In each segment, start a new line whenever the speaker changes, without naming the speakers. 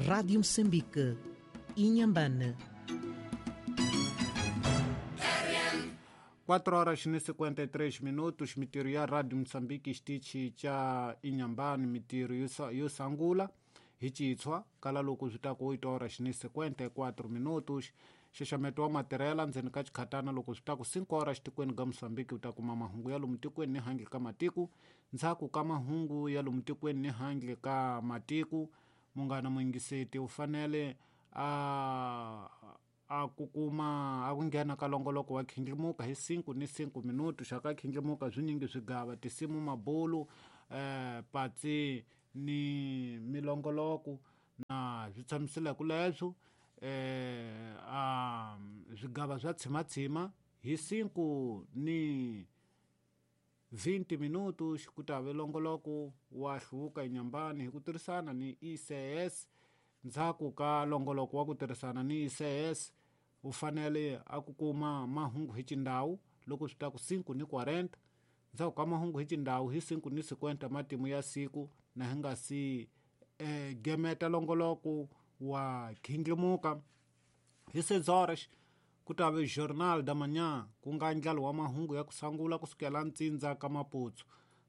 Rádio Moçambique, Inhambane.
4 horas ni 53 minutos. Mitiro ya Radio Moçambique xitichi cha Inhambane, mitiro yo sangula hi citshwa kala loko swi ta ku 8 horas ni 54 minutos. Xaxameto wa matirhela ndzeni ka xikhatana loko swi ta ku 5 horas tikweni ka Moçambique u ta kuma mahungu ya lomu tikweni ni handle ka matiko. Ndzhaku ka mahungu ya lomu tikweni ni handle ka matiko, munghana muyingiseti u fanele a ku kuma a ku nghena ka longoloko wa khindlimuka hi 5 ni 5 minuto. Xa ka khindlimuka swinyingi swigava tisimu, mabulu, patsi ni milongoloko na swi tshamiseleke leswo a swigava swa tshimatshima hi 5 ni 20 minutos. Ku ta ve longoloko wa hluvuka Inhambane hi ku tirhisana ni ICS. Ndzhaku ka longoloko wa ku tirhisana ni ICS u fanele a ku kuma mahungu hi xindhawu loko swi ta ku 5 ni 40. Ndzhaku ka mahungu hi xindhawu hi 5 ni 50 matimu ya siku na hi nga si gemeta longoloko wa khindlimuka hi 6 horas. Ku ta ve Jornal da Manhã, ku nga ndlalo wa mahungu ya ku sangula kusukela ntsindza ka Maputsu.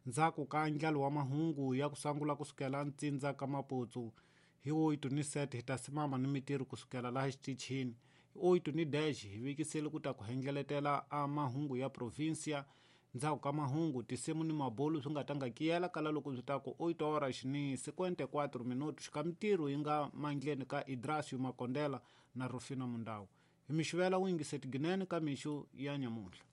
Ndzhaku ka ndlalo wa mahungu ya ku sangula kusukela ntsindza ka Maputsu hi 8 ni 7 hi ta simama ni mitirho kusukela laha xitichini. Hi 8 ni 10 hi vikisele ku ta ku hendleletela a mahungu ya provincia. Ndzhaku ka mahungu tisimu ni mabulu swi nga ta nga kiyela kala loko swi ta ku 8 horas ni 54 minutos. Ka mitirho yi nga mandleni ka Idrasio Makondela na Rufino Mundau. Hi mixivela u yingiseti ginene ka mixo ya nyamuntlha.